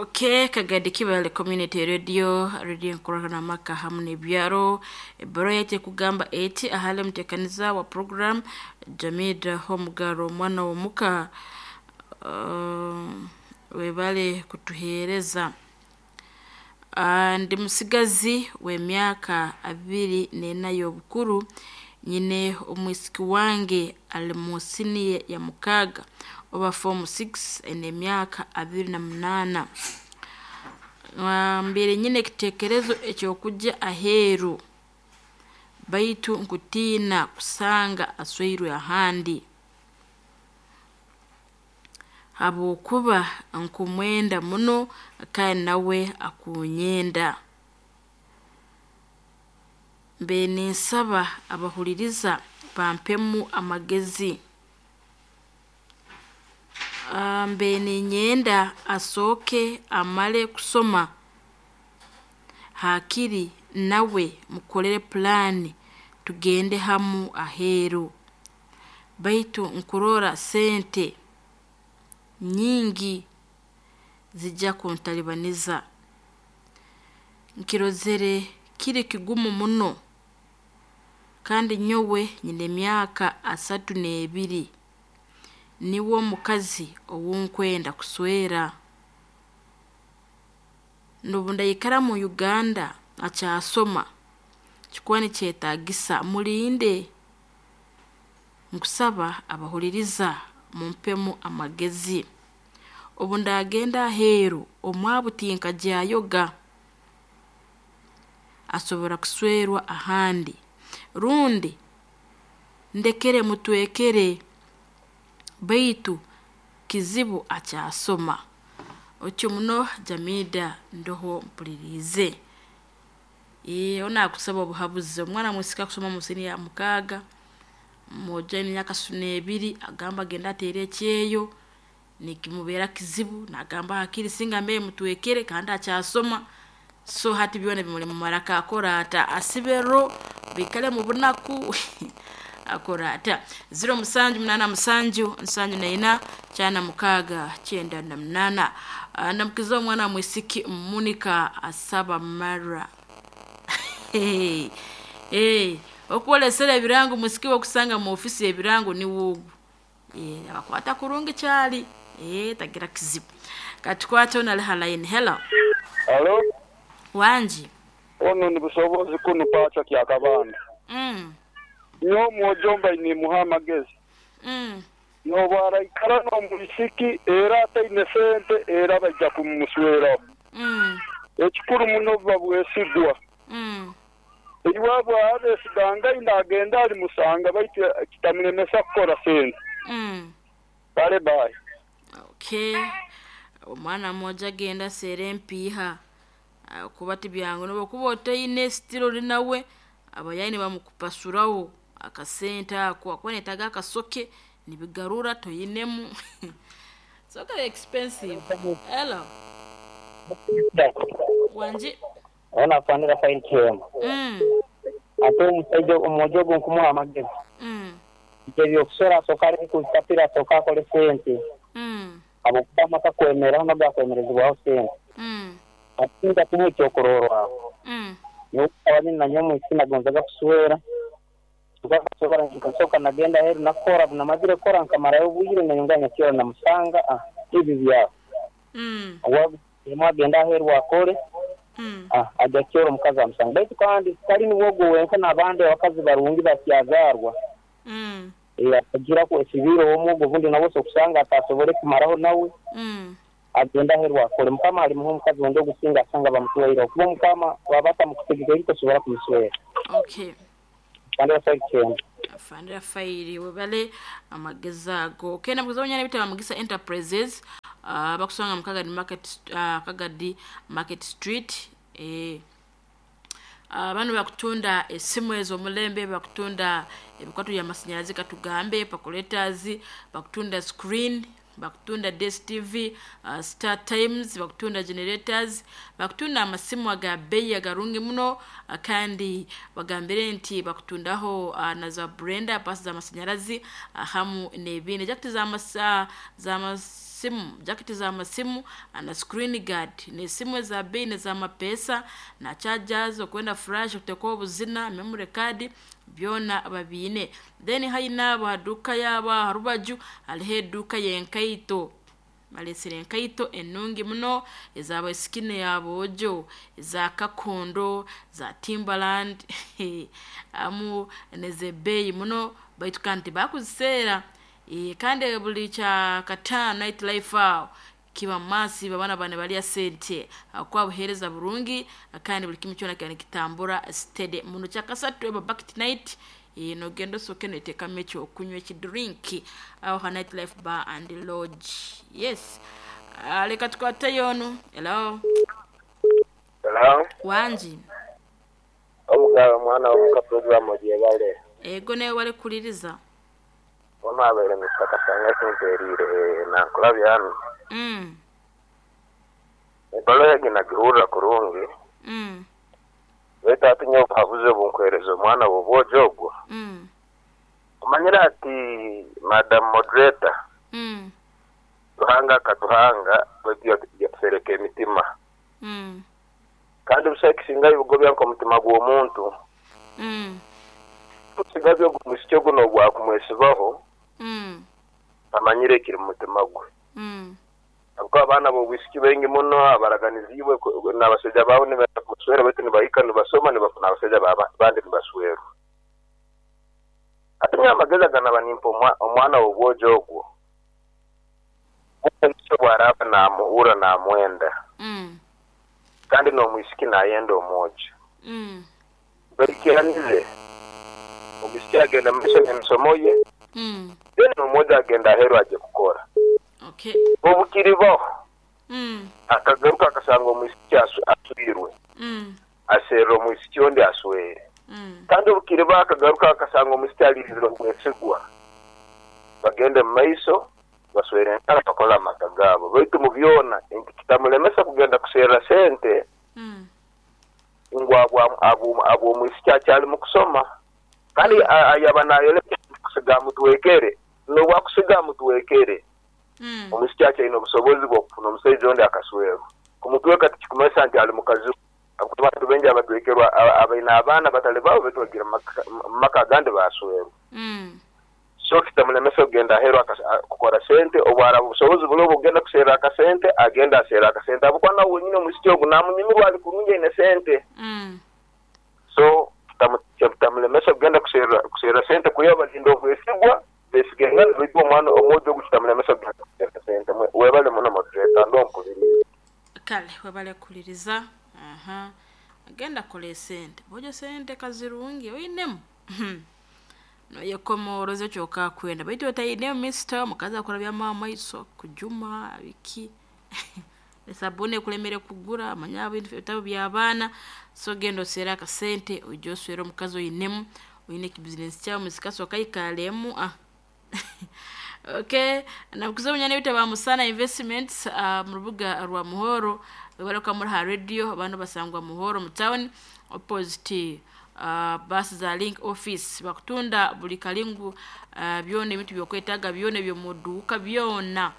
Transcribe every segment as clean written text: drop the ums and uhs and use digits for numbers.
Okay, Kagadi Kibale Community Radio, radio nkurana maka hamu n'ebyaro. Ebbaruha yaitu ekugamba eti ahali omuteekaniza wa program Jamida Homugaro omwana w'omuka, webale kutuheereza. Ndi musigazi w'emyaka 24 y'obukuru, nyine omwisiki wange ali mu siniya ya mukaaga oba form 6 aine emyaka 28. Mbaire nyine ekiteekerezo eky'okugya aheeru baitu nkutiina kusanga asweirwe ahandi, habwokuba nkumwenda muno kandi nawe akunyenda. Mbaire ninsaba abahuliriza bampemu amagezi. Mbaire ninyenda asooke amale kusoma haakiri nawe mukolere pulaani tugende hamu aheeru, baitu nkurora sente nyingi zijja kuntalibaniza. Nkirozere kiri kigumu muno kandi nyowe nyine emyaka 32, niwe omukazi ou nkwenda kuswera. N'obu ndaikara mu Uganda akyasoma, kikuba nikyetaagisa mulinde. Nkusaba abahuliriza mumpemu amagezi. Obu ndaagenda aheeru omwabu tinkagyayoga, asobora kuswerwa ahandi rundi ndekere mutwekere baitu kizibu akyasoma. Otyo muno Jamida ndoho mpuliriize. Onu naakusaba obuhabuzi, omwana mwisiki akusoma mu siniya ya mukaaga, omwojo aine emyaka 32 agamba agende ateere ekyeyo, nikimubeera kizibu naagamba haakiri singa mbaire mutwekere kandi akyasoma, so hati byona bimuli mu maraka akore ata? Asibero, baikale mu bunaku, akore ata? 0787 74 96 98. Ndamukiza omwana mwisiki Monica asaba Mara. Okwolesera ebirango mwisiki wokusanga mu ofisi ebirango niwe ogu. Abakwata kurungi kyali, tagira kizibu. Katukwate onu ali ha line. Hello. Halo. Wangi. Ono ni Busobozi kunu Pacha Kyakabanda. Nyowe omwojo mbaire nimuha amagezi. N'obu araikara n'omwisiki era ataine sente era baija kumusweraho. Ekikuru muno buba bwesigwa. Iwe bw'aba esigangaine agenda alimusanga baitu kitamulemesa kukora sente. Kale bye. Okay. Omwana mwojo agenda aseera empiiha kuba tibyangu n'obu okuba otaine still ori nawe abayayi nibamukupasuraho akasente ako akuba nayetaaga akasoke nibigarura toinemu, so kari expensive. Hello. Wangi. Ono afanira Faili Kihembo. Ate omusaija omwojo ogwo nkumuha amagezi. Nti eby'okuswera asooke aleke kubipapira asooke akole sente. Habwokuba amaka kwemeraho nago gakwemerezibwaho sente. Ati nja kumuha ekyokurorwaho. Nyowe nkaba nyine na nyowe omwisiki nagonzaga kuswera, nkasoka nagenda aheeru nakora, obu namazire kukora nkamarayo obwire nayongera nyakyora namusanga, ebyo byaho. Agenda aheeru akole, aja kyora omukazi amusanga. Baitu kandi tali niwe ogwo wenka n'abandi abakazi barungi bakyazaarwa. Akagiraku esibiire ow'omwogo obundi nawe osobola kusanga atasobole kumaraho nawe, agenda aheeru akole. Mukama alimuha omukazi ondi ogusinga asanga bamutwaireho kuba Omukama bwaba atamukutegekere tosobora kumuswera. Okay. Afandira Faili Kihembo. Afandira Faili webale amagezi ago. Okay, nabuguza abanyana bitaba Mugisa Enterprises, bakusanga mu Kagadi Market, Kagadi Market Street. Bano bakutunda esimu ez'omulembe, bakutunda ebikwato by'amasanyalazi katugambe, calculators, bakutunda screen, bakutunda DSTV, Star Times, bakutunda generators, bakutunda amasimu aga bei agarungi muno, kandi bagambire nti bakutundaho na za blender, pasi z'amasanyalazi, hamu n'ebindi. Jakiti za Simu jaketi za masimu na screen guard nesimu eza bei neza mapesa na chargers, okwenda flash, okuteeka obuzina, memory card, byona babiine. Then haina ahaduuka yaabo aha rubaju hariho eduuka y'enkaito. Balesire enkaito enungi muno ez'abaisiki n'aboojo, eza kakondo, za Timberland hamu n'ez'ebbeeyi muno, baitu kandi tibakuziseera. Kandi buli kyakataano Night Life aho kiba massive, abaana baba nibarya sente habwokuba buheereza burungi kandi buli kimu kyona kiba nikitambura steady muno. Kyakasatu eba bucket night, nogenda osooke noteekamu ekyokunywa ekidrink aho ha Night Life Bar and Lodge. Yes, leka tukwateyo onu. Hello. Hello. Wangi. Omugabe omwana w'omuka program ogyebale. Ego nawe wali kukuliriza. Ono abaire Mr. Kasanga kimperire nankulabya hanu. Ebbaluha egi nagihurra kurungi. Baitu hati nyowe obuhabuzi obunkwereza omwana w'obwojo ogwo. Omanyire ati Madam Moderator. Ruhanga akatuhanga baitu yatusereka emitima. Kandi busaho ekisingayo bugobya nk'omutima gw'omuntu. Omusigazi ogu omwisiki ogu n'obwakumwesibaho, amanyire ekiri mu mutima gwe. Habwokuba abaana b'obwisiki baingi muno abaraganiziibwe n'abasaija baabo nibenda kumuswera baitu nibahika nibasoma nibafuna abasaija bandi nibaswerwa. Hati nyowe amagezi aganaba nimpa omwana w'obwojo ogwo, omwisiki obu araaba naamuhurra naamwenda, kandi n'omwisiki naayenda omwojo, baikiranize, omwisiki agenda mu maiso n'emisomo ye, then n'omwojo agenda aheeru aje kukora. Obu kiribaho, akagaruka akasanga omwisiki aswirwe, aserra omwisiki ondi aswere. Kandi obu kiribaho akagaruka akasanga omwisiki aliizire omwesigwa, bagende mu maiso baswere enkara bakole amaka gaabo. Baitu mu byona kitamulemesa kugenda kuserra sente ngu abw'omwisiki akyali mu kusoma. Kandi ayaba naayoleka kusiga amutwekere, n'obwakusiga amutwekere, omwisiki akyaine obusobozi bw'okufuna omusaija ondi akaswerwa. Kumutweka tikikumanyisa nti ali mukazi we. Habwokuba abantu baingi abatwekerwa abaine abaana batali baabo baitu bagiire mu maka agandi baaswerwa. So kitamulemesa kugenda aheeru kukora sente, obu araaba obusobozi buroho obw'okugenda kuserra akasente, agende aserre akasente habwokuba nawe wenyini omwisiki ogu naamunyumirwa ali kurungi aine sente. So kitamulemesa kugenda kuserra sente kwihaho balinda obwesigwa, besigengana baitu omwana omwojo ogu kitamulemesa kugenda kuserra sente. Webale muno moderator, ndoho mpuliriize. Kale webale kukuliriza. Aha. Agenda kola esente. Bojo sente kazirungi oinemu. Noyekomoroza kyoka kwenda baitu otainemu mister, omukazi akurabyamu amaiso, kujuma biki. Esabuni ekulemere kugura, manya ebintu by'abaana. So genda osere akasente oije oswere omukazi oinemu, oine ekibizinesi kyawe musikasoka ikalemu. Okay, nakuza omunyana ebitabo Musana Investments mu rubuga rwa Muhoro, baruka muri ha radio abantu basangwa Muhoro mu town opposite basi za Link office. Bakutunda buli kalingu byona ebintu byokwetaaga byona ebyomuduuka byona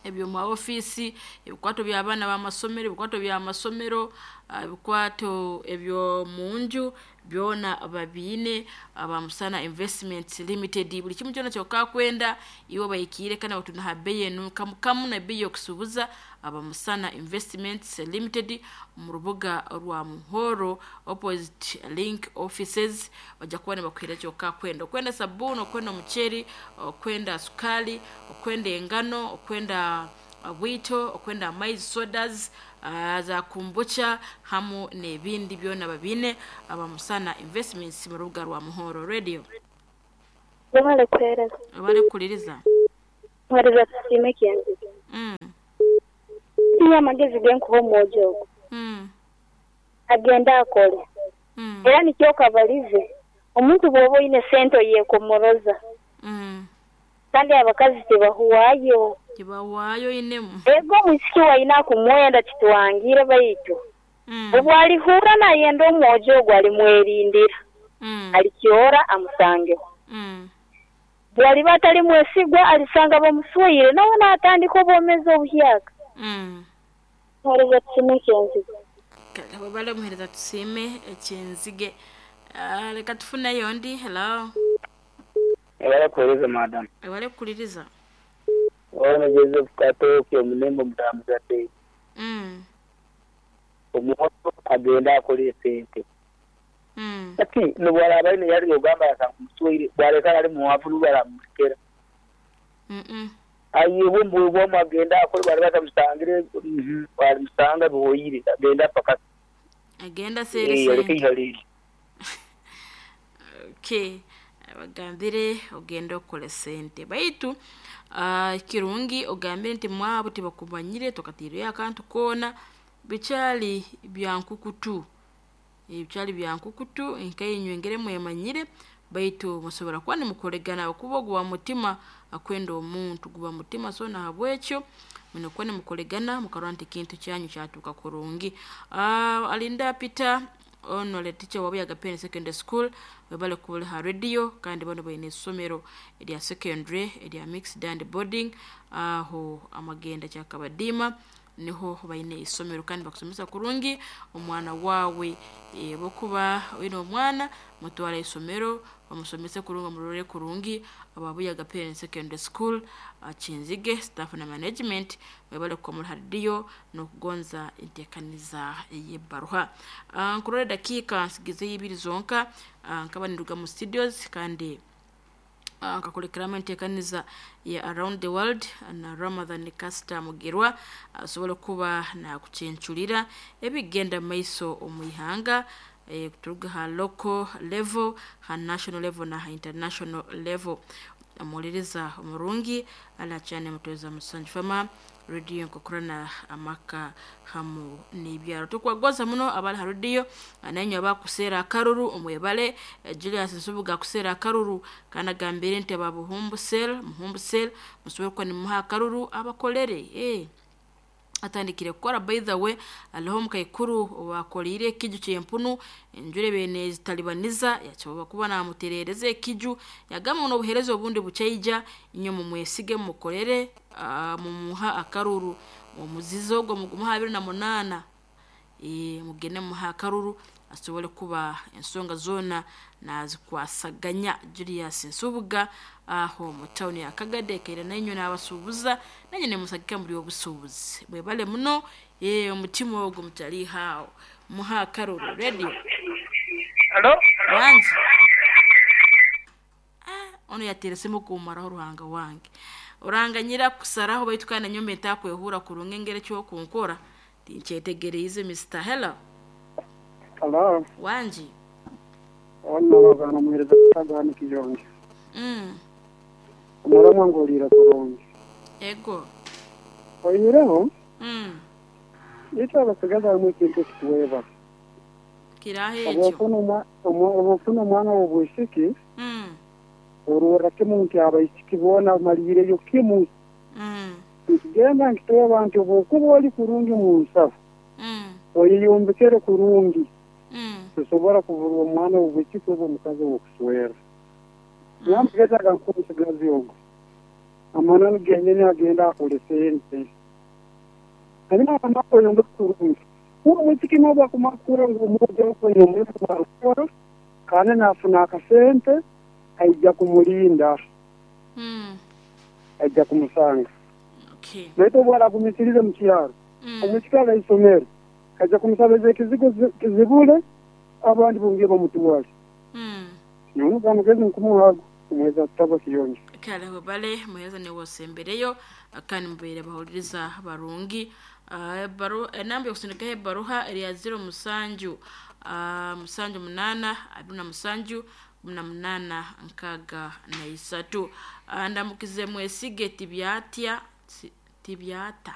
ebyo mu ofisi, ebikwato by'abaana b'amasomero, ebikwato by'amasomero, ebikwato ebyo munju byona babiine aba Musana Investments Limited. Buli kimu kyona kyokka kwenda iwe bayikiire kandi batunda ha bei enu kamu kamu na bei y'okusuubuza. Aba Musana Investments Limited mu rubuga rwa Muhoro opposite Link offices, bajja kuba nibakuhira kyokka kwenda. Okwenda sabuni, okwenda omuceeri, okwenda sukali, okwenda engano, okwenda bwito, okwenda amaizi, sodas, za kombucha hamu n'ebindi byona babiine aba Musana Investments mu rubuga rwa Muhoro Radio. Webale kuheereza. Webale kukuliriza. Mwereza tusiime kyenziga. Niyo amagezi genkuha omwojo ogwo. Agende akole. Era nikyo kabalize, omuntu bw'oba oine sente oyekomoroza. Kandi abakazi tibahuwayo. Tibahuwayo inemu. Ego omwisiki waine akumwenda kitwangire baitu. Obu alihurra nayenda omwojo ogwo alimwerindira. Alikyora amusangeho. Bwaliba atali mwesigwa alisanga bamuswire nawe n'atandika obwomezi obuhyaka. Muhereza tusime ekyenzige. Kale webale muhereza tusime ekyenzige. Leka tufuneyo ndi. Hello. Ewale kuhereza madam. Ewale kukuliriza. Ono Joseph Katoke omulembe omutambuzadde. Omuwoto agenda akola esente. Kati nobwaraaba aine yali ogamba yasanga omuswaire bwaleka ali muwavu nubwaramurekera. Aye bwe agenda akole bwali batamusangire bwalimusanga bihoyire agenda paka. Agenda sere sente. Okay. Bagambire ogenda okole sente baitu kirungi ogambire nti mwabo tibakumanyire tokatiire akantu koona bikyali byankukutu ebikyali byankukutu nkainywe ngere mwemanyire baitu musobora kuba nimukoregana okuba oguba mutima akwenda omuntu guba mutima so nahabwekyo munokuba nimukoregana mukarora nti ekintu kyanyu kyatuuka kurungi. Alinda Peter ono le teacher wabu Agapeni Secondary School webale kuliha radio kandi bano baine essomero erya secondary erya mixed and boarding aho amagenda kyakabadima niho baine isomero kandi bakusomesa kurungi omwana wawe bokuba oine omwana mutwara isomero bamusomese kurungi omurore kurungi ababuya Agapeni Secondary School Kinzige staff na management webale kukomora radio nokugonza entekaniza y'ebbaruha. Nkurore dakika nsigize ibiri zonka nkaba niruga mu studios kandi nkakulekeramo entekaniza ya Around the World na Ramadhan Kasta Mugirwa asobole kuba nakuchenchulira ebigenda maiso omuihanga kuturuga ha local level, ha national level na ha international level. Amuliriza omurungi ala cyane mutweza musanju fama radio nkokorana amaka hamu n'ibyaro tukwagoza muno abali ha radio ananyo abakusera akaruru omwebale Julius Nsubuga kusera akaruru kana gambire nti ababuhumbu sel muhumbu sel musobora kuba nimuha akaruru abakolere atandikire kukora. By the way aliho mukaikuru wakolire ekiju kyempunu enjure bene zitalibaniza yachoba kuba namuterereze ekiju yagamba no buhereza obundi buchaija inyo mumwesige mukolere mumuha akaruru omuzizo ogwo mugumuha 28 mugene muha akaruru asobole kuba ensonga zona nazikwasaganya. Julius Nsubuga aho mu town ya Kagade kaira nanyo nabasubuza nanyo ne musagika muri obusubuzi bwebale muno omutima ogwo mutali hao muha karuru radio. Hello wanji ono yateresemo kumaraho ruhanga wange oranganyira kusaraho baitu kana nyombe ntakwehura kurunga engere cyo kunkora tinchetegereize Mr. Hello. Hello. Wanji. Ono bagana muhereza kutagana kiyonge. Omurama ngolira kurungi. Ego. Oyireho? Ito abasigaza mu kintu kituweba. Kirahe ekyo. Obufuna omwana w'obwisiki. Orora kimu nti abaisiki bona malireyo kimu. Genda nkitowa abantu obukuba oli kurungi mu nsafu. Oyiyombekere kurungi. Tusobora kuvurwa omwana w'obwisiki oba omukazi w'okuswera. Namugeza nkusigazi ogo. Amananu genyene agenda akole sente. Hanyuma amakuru kurungi. Uwo mwisiki noba kumakura ngo umujye okwenyomera kandi nafuna akasente aija kumulinda. Aija kumusanga. Okay. Naito bwala kumisirize mu kyaro. Omusikala isomero. Aija kumusabeza ekizigo kizibule abandi bungiye bamutuwale. Nyono kamugezi nkumuhago umweza tabo kiyonje. Kale bale muheza ne wosembereyo akani mbere bahuliriza barungi enamba yokusindika ebaruha eri ya 0 musanju musanju 8 27 18 63. Ndamukize mwesige tibyatya tibyata.